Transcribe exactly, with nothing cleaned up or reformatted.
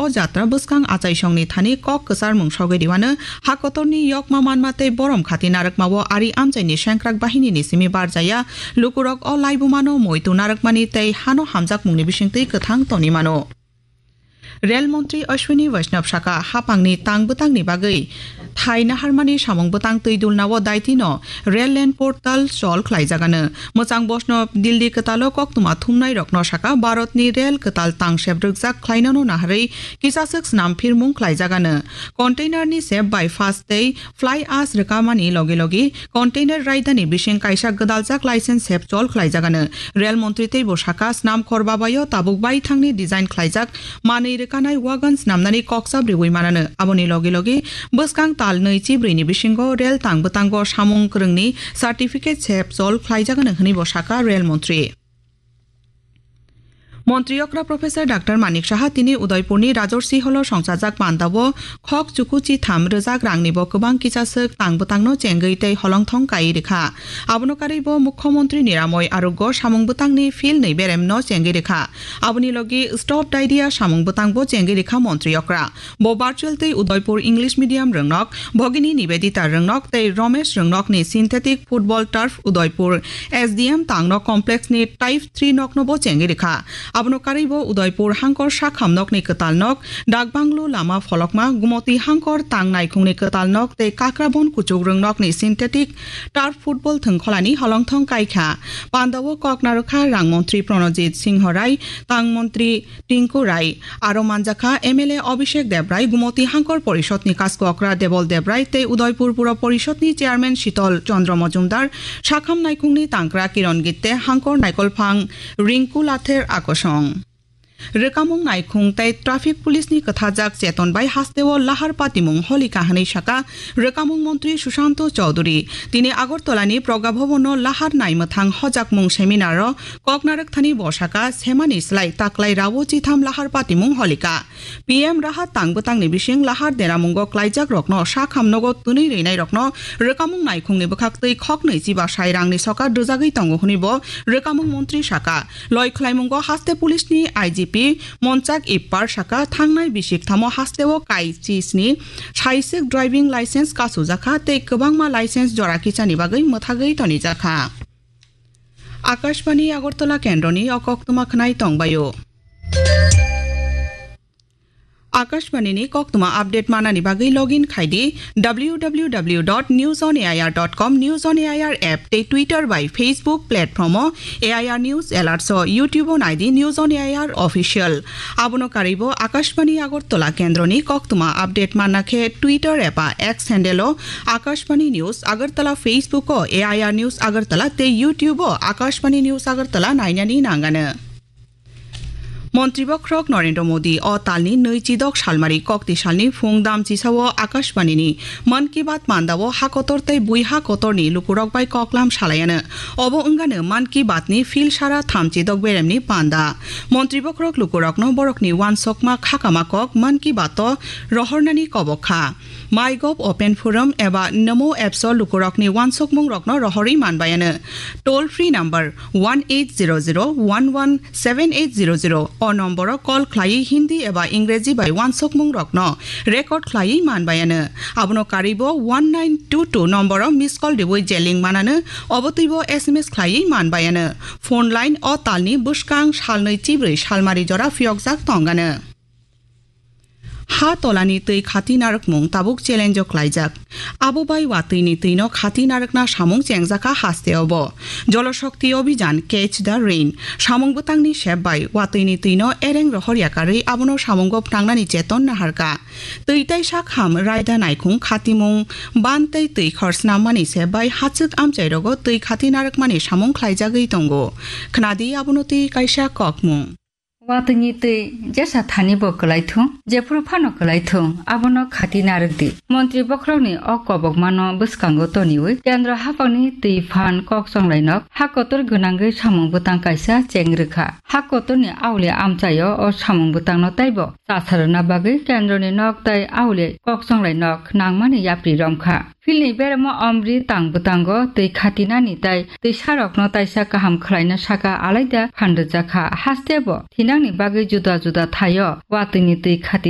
O jatra bwskang achaisongni thani kok kwcharmung sogwi riwano, ha kotorni yokma manma tei borom khati narwkmao ari amchaini sengkrak bahinini simi barjaya, lukurok o laibumano muitu narwkmani tei hano hamjakmungni bisingtwi kwthang toni mano. Rel montri Ashwini Vaishnaw saka, hapangni tang bwtangni bagwi thai naharmani samung bwtang twi dulnao daitino Rail Land Portal chol khlaijagano. Mwchang bosno Delhi kwtalo koktwma thumnairokno saka, Bharatni rel kwtal tangsep rwkjak khlainano naharwi kisaswk snam phirmung khlaijagano. Containerni sep bypass tei fly ash rwkamani logi logi container raidani bising kaisa gwdaljak license sep chol khlaijagano. Rel montri teibo saka, snam khor babaio tabuk baithangni design khlaijak manwi rwkanai wagon snamnani kokchap riwi manano. Aboni logi logi bwskang tal nwi chibrwini bisingo rel tang bwtango samung kwrwngni certificate sep chol khlaijagano hwnwibo saka rel montri. Montri okra Professor Doctor Manik Saha tini Udaipurni Rajorsi Holo songchajak pandao khok chuku chitham rwjak rangnibo kwbang kisaswk tang bwtangno chengwi tei holongthong kai rikha. Abono karwibo Mukhyamantri Niramoy Arogyo samung bwtangni phil nwi beremno chengwi rikha. Aboni logi Stop Diarrhea samung bwtangbo chengwi rikha montri okra. Bo virtual tei Udaipur English Medium rwngnok, Bhagini Nivedita rwngnok tei Romesh rwngnokni synthetic football turf Udaipur S D M tangno complex ni type three nokno bo chengwi rikha. Abono karwibo Udaipur hangkor sakham nokni kwtal nok, Dakbanglu lama pholokma, Gumoti hangkor tang naikhungni kwtal nok tei Kakrabon kuchuk rwngnokni synthetic turf football thwngkholani holongthong kaikha. Pandao kok narwkha rang montri Pranojit Singho Rai, tang montri Tinku Rai, aro manjakha M L A Abhishek Debrai, Gumoti Hangkor Porishodni Kasko Okra Debol Debrai tei Udaipur Pura Porishodni Chairman Shitol Chandra Majumdar, Sakham Naikhungni Tangkra Kiron Gitte, Hangkor Naikolphang Rinku Lather Akosong. Rwkamung naikhung tei traffic police ni kwthajak cheton bai hasteo lahar patimung holika hwnwi saka rwkamung montri Sushanto Chowdhury. Tini Agartala ni Pragya Bhavan no lahar naimwthang hojakmung seminar o kok narwkthani bo saka, semani slai taklai rao chitham lahar patimung holika. P M rahat tang bwtangni bising lahar deramungo klaijak rokno sakham nogo twnwi rwinai rokno rwkamung naikhungni bwkhaktwi khoknwi chiba sai rangni sokat rwjagwi tongo hwnwi bo rwkamung montri saka. Loi khlaimungo haste police ni I G P Monchak Ippar saka, thangnai bisik thamo hasteo kai chisni saiswk driving license kasujakha tei kwbangma license jora kichani bagwi mwthagwi tonijakha. Akashbani Agartala kendroni o koktwma khwnai tongbaio. Akashbani ni koktwma update manani bagwi login khai di W W W dot news on A I R dot com, News on A I R app tei Twitter bai Facebook platform o A I R News Alerts o, YouTube o nai di News on A I R Official. Abono karwibo Akashbani Agartala kendroni koktwma update manna khe Twitter eba X handle o Akashbani News Agartala, Facebook o A I R News Agartala tei YouTube o Akashbani News Agartala nainani nangano. Montri Bokhorok Narendra Modi o talni nwi chidok salmari kokti salni phung dam chisao Akashbani ni Mann Ki Baat mandao ha kotor tei bui ha kotorni lukurok bai koklam salaiano. Obo wngano Mann Ki Baat ni phil sara thamchi dok beremni panda. Montri Bokhorok lukurokno borokni uansukma khakama kok Mann Ki Baat o rohornani kobok kha. MyGov Open Forum eba Namo Apps o lukurokni uansukmungrokno rohorwi manbaiano. Toll free number one eight zero zero one one seven eight zero zero o nomboro call khlaiwi Hindi eba Ingreji bai uansukmungrokno record khlaiwi manbaiano. Abono karwibo one nine two two nomboro miss call riwi je link manano, obo twibo S M S khlaiwi manbaiano. Phone line o talni bwskang salnwi chibrwi salmari jora phiyokjak tongano. Ha tolani twi khati narwkmung tabuk challenge o klaijak. Abo bai watwini twino khati narwkna samung chengjakha hasteo bo. Jol Shakti Abhijan, Catch the Rain samung bwtangni sep bai watwini twino ereng rohor yakarwi abono samungo phnangnani cheton naharkha. Twi tei sakham raida naikhung khatimung ban tei twi khor snammani sep bai hachwk amchairogo twi khati narwkmani samung khlaijagwi tongo. Khnadi abono twi kaisa kokmung. Watwini twi jesa thani bo kwlai thung, jephuru phano kwlai thung, abono khati narwk di. Montri Bokhorokni o kobokmano bwskango toniwi Kendro haphangni twi phan kok chonglai nok ha kotor gwnangwi samung bwtang kaisa cheng rwkha. Ha kotorni auli amchaio o samung bwtangno teibo chasarwna bagwi Kendroni nok tei auli kok chonglai nok nangmani yapri romkha. Philni beremo omri tang bwtango twi khatinani tei twisarokno taisa kaham khlaina saka alaida phan rwjakha. Hastebo thinangni bagwi juda juda thaio watwini twi khati